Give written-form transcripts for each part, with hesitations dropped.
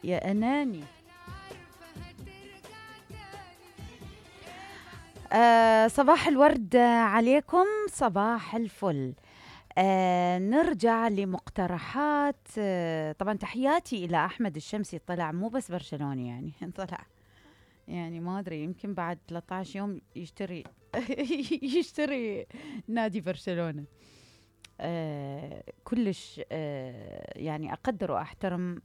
يا أناني. صباح الورد عليكم، صباح الفل. نرجع لمقترحات. طبعا تحياتي إلى أحمد الشمسي، طلع مو بس برشلوني يعني طلع يعني ما أدري يمكن بعد 13 يوم يشتري يشتري نادي برشلونة. كلش يعني أقدر وأحترم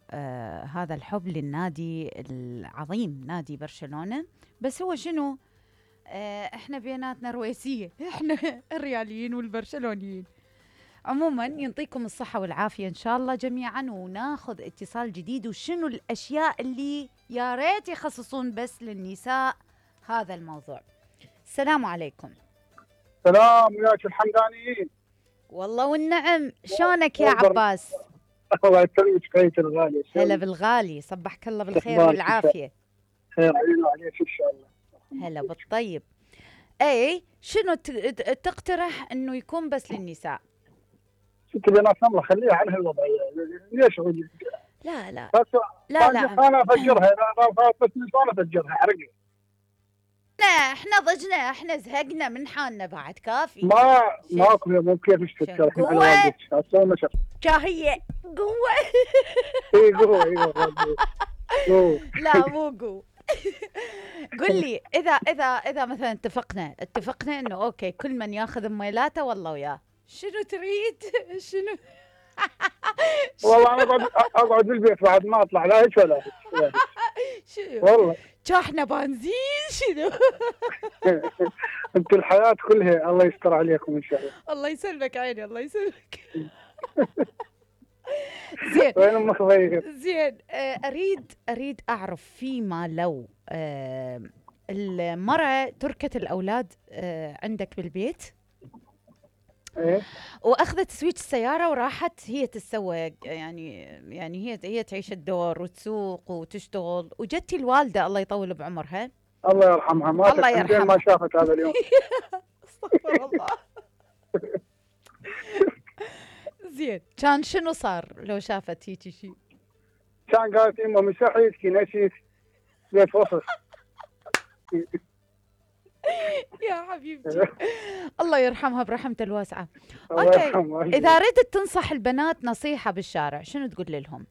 هذا الحب للنادي العظيم نادي برشلونة. بس هو شنو، احنا بيناتنا رويسية، احنا الرياليين والبرشلونيين. عموما ينطيكم الصحة والعافية إن شاء الله جميعا، وناخذ اتصال جديد. وشنو الأشياء اللي يا ريت يخصصون بس للنساء هذا الموضوع. السلام عليكم. سلام وياك الحمدانيين. والله والنعم، شلونك يا عباس؟ الله يسلمك خيتي الغالية. هلا بالغالي، صبحك الله بالخير والعافية. خير علينا عليك إن شاء الله. هلا بالطيب. اي شنو تقترح انه يكون بس للنساء؟ ست بنات الله خليها على هالوضعيه. ليش لا لا بس لا لا انا افجرها، انا بس انا افجرها حرقي. لا احنا ضجنا، احنا زهقنا من حالنا بعد كافي. ماكو مو كيف تفكر احنا على والدك اسوي نشر شاهيه قوه. اي قوه لا مو قوه. قل لي اذا مثلا اتفقنا انه اوكي كل من ياخذ ميلاته والله وياه، شنو تريد؟ شنو؟ والله انا اقعد بالبيت بعد ما اطلع لا هيك ولا هيك. شنو والله شاحنه بنزين شنو؟ انت الحياه كلها الله يستر عليكم ان شاء الله. الله يسلمك عيني، الله يسلمك. زين وين امك ضيق؟ زين. اريد اعرف فيما لو المرأة تركت الاولاد عندك بالبيت، ايه، واخذت سويتش السياره وراحت هي تتسوق، يعني هي تعيش الدور وتسوق وتشتغل، وجتي الوالده الله يطول بعمرها الله يرحمها، ما الله يرحمها ما شافت هذا اليوم. استغفر الله. زين كان شنو صار لو شافت هيك شيء؟ كان قالت امه مسحيتك نسيت بيت وصف. يا حبيبتي الله يرحمها برحمته الواسعة. اوكي، إذا ردت تنصح البنات نصيحة بالشارع شنو تقول لهم؟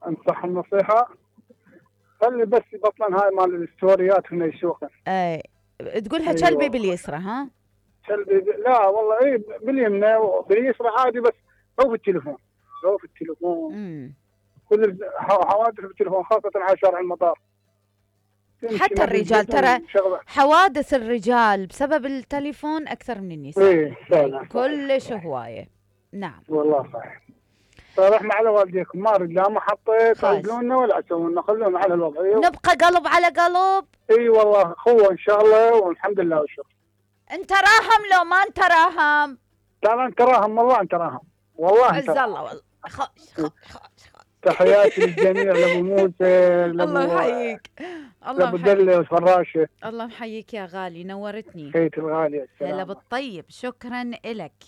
انصح النصيحة خلي بس يبطلن هاي مال الستوريات هنا يسوقن. اي تقولها كلبي باليسرى ها؟ كلبي لا والله اي باليمنى وباليسرى عادي، بس هو في التليفون كل حوادث بالتليفون خاصة على شارع المطار. حتى الرجال ترى حوادث الرجال بسبب التليفون أكثر من النساء. ايه فعلا كلش هواية. نعم والله صحيح. فرحنا على والديكم، ما رد لا محطة يقولون ولا يسوون، خلونا على الوضعية نبقى قلب على قلب. اي والله اخوة ان شاء الله والحمد لله والشكر. انت راهم لو ما انت راهم؟ لا انت راهم والله، انت راهم والله. عز الله والله. خوش. تحياتي للجميع، لابو موسى، الله يحييك، الله لابو دلة وفراشة. الله يحييك يا غالي، نورتني. خيتي الغالية. هلا بالطيب، شكرا إلك.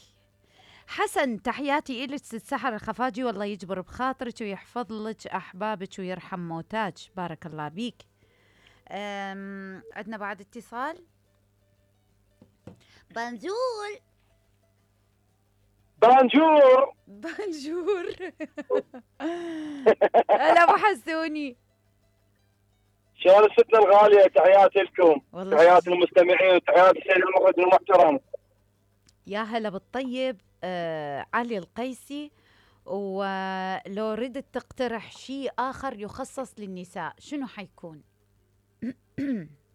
حسن تحياتي إلك ست سحر الخفاجي، والله يجبر بخاطرك ويحفظ لك أحبابك ويرحم موتاك، بارك الله بيك. عندنا بعد اتصال. بنجور هلا ابو حسوني، شلون الستة الغالية؟ تحياتي لكم، تحياتي للمستمعين، وتحياتي للسيد المخرج المحترم. يا هلا بالطيب. علي القيسي، ولو ردت تقترح شيء آخر يخصص للنساء شنو حيكون؟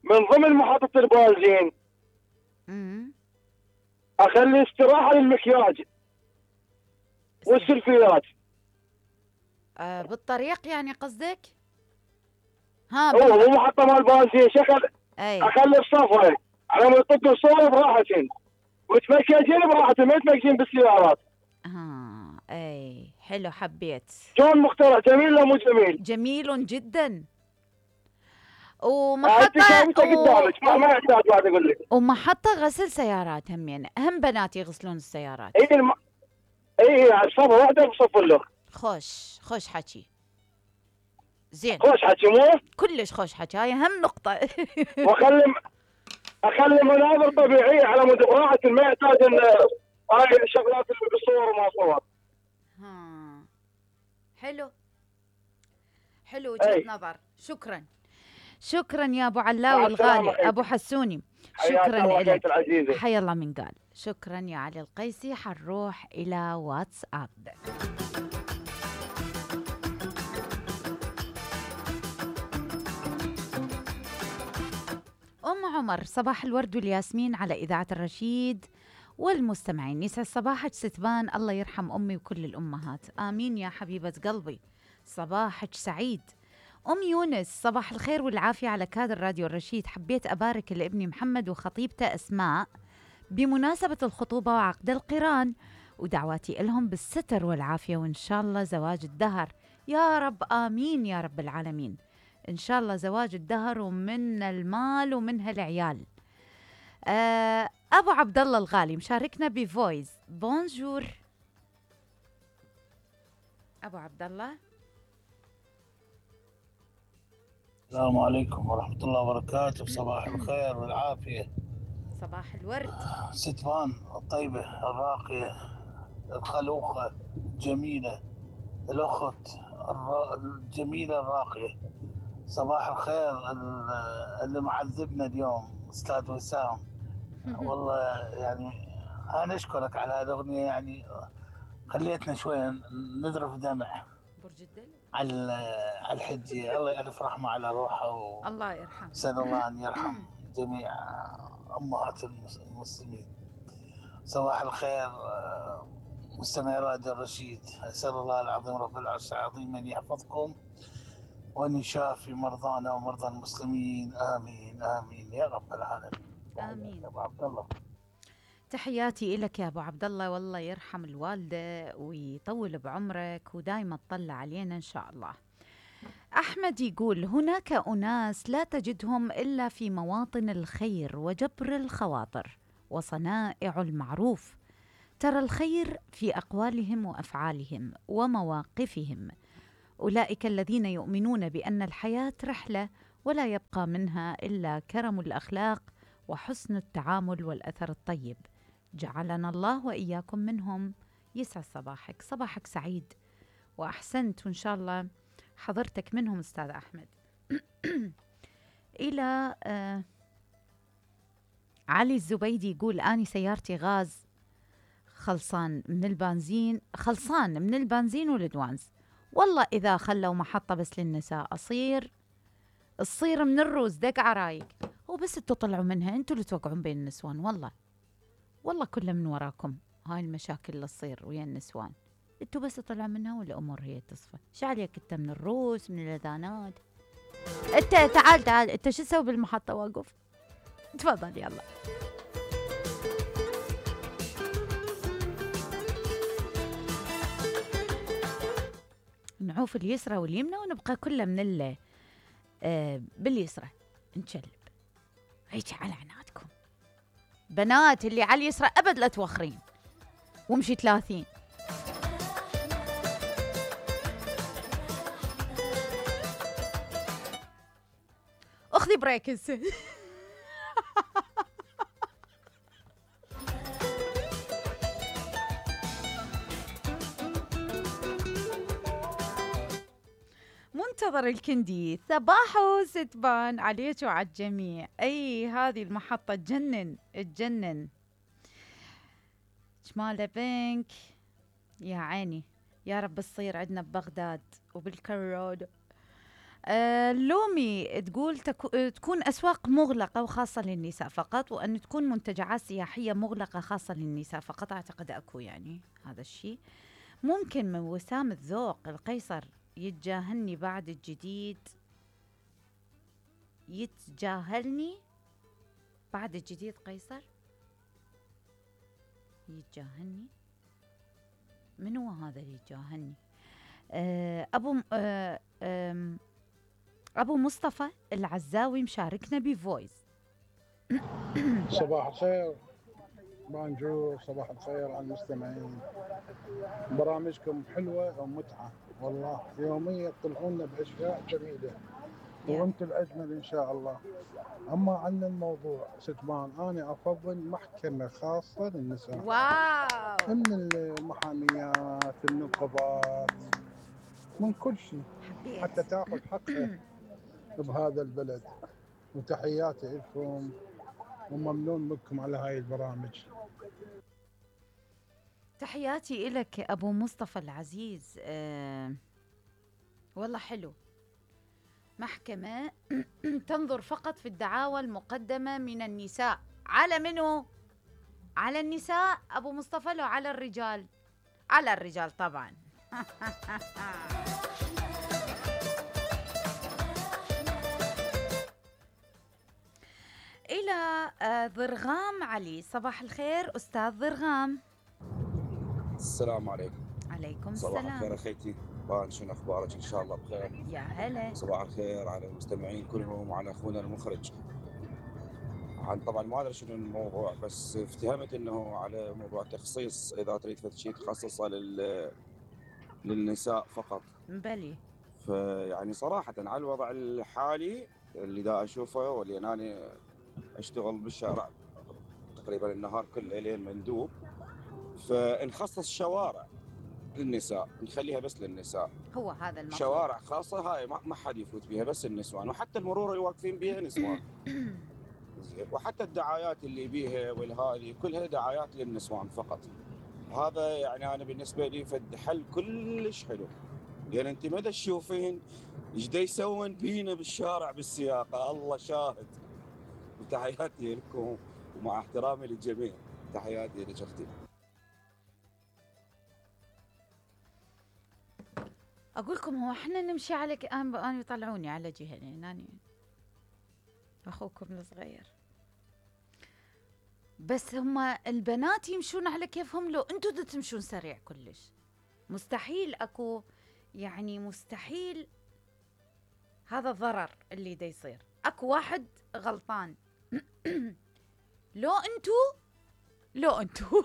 من ضمن محطة البنزين أخلي استراحة للمكياج والسلفيات. بالطريق يعني قصدك؟ هو مو محطة مال بنزين، شكل أخلي بصفة على ما يطق الصورة براحتين وتمكجين براحتين، ما يتمكجين بالسيارات. اي حلو، حبيت. شلون مخترع؟ جميل ولا مو جميل؟ جميل جدا. ومحطة قدامك ما يحتاج بعد اقول لك. ومحطة غسل سيارات همين، هم بنات يغسلون السيارات. اي صفة واحدة بصف له. خوش حكي. زين خوش حكي مو؟ كلش خوش حكي، هاي اهم نقطة. اخلي مناظر طبيعية على مود براحة، ما يحتاج ان هاي الشغلات اللي بالصور وما صور. حلو وجهة نظر. شكرا يا ابو علاوي الغالي، ابو حسوني. شكرا لك، حيا الله من قال. شكرا يا علي القيسي. حنروح الى واتساب. ام عمر، صباح الورد والياسمين على اذاعة الرشيد والمستمعين. يسعد صباحك ستبان، الله يرحم امي وكل الامهات. امين يا حبيبة قلبي، صباحك سعيد. أم يونس، صباح الخير والعافية على كادر راديو الرشيد. حبيت أبارك لابني محمد وخطيبته أسماء بمناسبة الخطوبة وعقد القران، ودعواتي لهم بالستر والعافية، وإن شاء الله زواج الدهر يا رب. آمين يا رب العالمين. إن شاء الله زواج الدهر ومن المال ومنها العيال. أبو عبد الله الغالي مشاركنا بفويس. بونجور أبو عبد الله. السلام عليكم ورحمة الله وبركاته. صباح الخير والعافية. صباح الورد. ستبان الطيبة الراقية الخلوقة الجميلة، الأخت الجميلة الراقية. صباح الخير اللي معذبنا اليوم أستاذ وسام. والله يعني أنا أشكرك على هذه الأغنية، يعني خليتنا شوية نذرف دمع. برج الدلو على الحجة. الله يألف رحمة على روحه الله يرحمه. أسأل الله أن يرحم جميع أمهات المسلمين. صباح الخير مستمعي راديو الرشيد. أسأل الله العظيم رب العرش العظيم أن يحفظكم وأن يشافي مرضانا ومرضى المسلمين. آمين آمين يا رب العالمين. آمين. يا أبو عبد الله، تحياتي لك يا ابو عبد الله، والله يرحم الوالده ويطول بعمرك ودايما تطلع علينا ان شاء الله. احمد يقول هناك اناس لا تجدهم الا في مواطن الخير وجبر الخواطر وصنائع المعروف. ترى الخير في اقوالهم وافعالهم ومواقفهم. اولئك الذين يؤمنون بان الحياه رحله ولا يبقى منها الا كرم الاخلاق وحسن التعامل والاثر الطيب. جعلنا الله وإياكم منهم. يسعد صباحك، صباحك سعيد وأحسنت، وإن شاء الله حضرتك منهم أستاذ أحمد. إلى علي الزبيدي يقول أني سيارتي غاز خلصان من البنزين والدوانز. والله إذا خلوا محطة بس للنساء الصير من الروز دق عرايق. هو بس انتوا طلعوا منها، انتوا اللي توقعون بين النسوان. والله كله من وراكم هاي المشاكل اللي تصير ويا النسوان. انتوا بس طلعوا منها والامور هي تصفى. شو عليك انت من الروس من الاذانات؟ انت تعال انت شو تسوي بالمحطة واقف؟ تفضل يلا. نعوف اليسرى واليمنى ونبقى كله من باليسرى نشلب. هيك على عنادكم بنات، اللي على اليسرى ابد لا توخرين وامشي 30. اخذي بريك هسه. منتظر الكندي. صباحو ستبان عليك وعلى الجميع. اي هذه المحطة تجنن شمالة بنك يا عيني. يا رب تصير عندنا ببغداد وبالكرود. لومي تقول تكون أسواق مغلقة وخاصة للنساء فقط، وأن تكون منتجعات سياحية مغلقة خاصة للنساء فقط. أعتقد أكو يعني هذا الشيء. ممكن من وسام الذوق القيصر يتجاهلني بعد الجديد قيصر يتجاهلني. من هو هذا اللي يتجاهلني؟ أبو مصطفى العزاوي مشاركنا بفويس. صباح الخير. بانجو، صباح الخير على المستمعين. برامجكم حلوة ومتعة والله، يوميا تطلعونا بأشياء جميلة وانتم الأجمل إن شاء الله. أما عن الموضوع ستبان، أنا أفضل محكمة خاصة للنساء. واو. من المحاميات، النقبات، من كل شيء، حتى تاخذ حقها بهذا البلد. وتحياتي لكم وممنون منكم على هاي البرامج. تحياتي إلك أبو مصطفى العزيز. والله حلو. محكمة تنظر فقط في الدعاوى المقدمة من النساء. على منو؟ على النساء أبو مصطفى لو على الرجال؟ على الرجال طبعا. إلى ضرغام علي. صباح الخير أستاذ ضرغام. السلام عليكم. عليكم صباح السلام. الخير أخيتي، شنو أخبارك؟ إن شاء الله بخير. يا هلا. صباح الخير على المستمعين كلهم وعلى أخونا المخرج. طبعا ما أدري شنو الموضوع، بس افتهمت إنه على موضوع تخصيص، إذا تريد شيء تخصصه للنساء فقط. بلي. فيعني صراحة على الوضع الحالي اللي دا أشوفه، واللي أنا أشتغل بالشارع تقريبا النهار كله لين مندوب، فنخصص شوارع للنساء، نخليها بس للنساء. هو هذا المفروض. شوارع خاصة هاي ما حد يفوت بيها، بس النسوان، وحتى المرور اللي واقفين بيها نسوان. زين. وحتى الدعايات اللي بيها والهذه كلها دعايات للنسوان فقط. هذا يعني انا بالنسبة لي فد حل كلش حلو، لان انت ما تشوفين ايش دا يسوون بينا بالشارع بالسياقة، الله شاهد. وتحياتي لكم ومع احترامي للجميع، تحياتي لك اختي. أقول لكم هو احنا نمشي على أنا يطلعوني على جهة، يعني أنا أخوكم الصغير، بس هما البنات يمشون على كيفهم، لو أنتوا تمشون سريع كلش مستحيل أكو، يعني مستحيل هذا الضرر اللي دا يصير. أكو واحد غلطان. لو أنتوا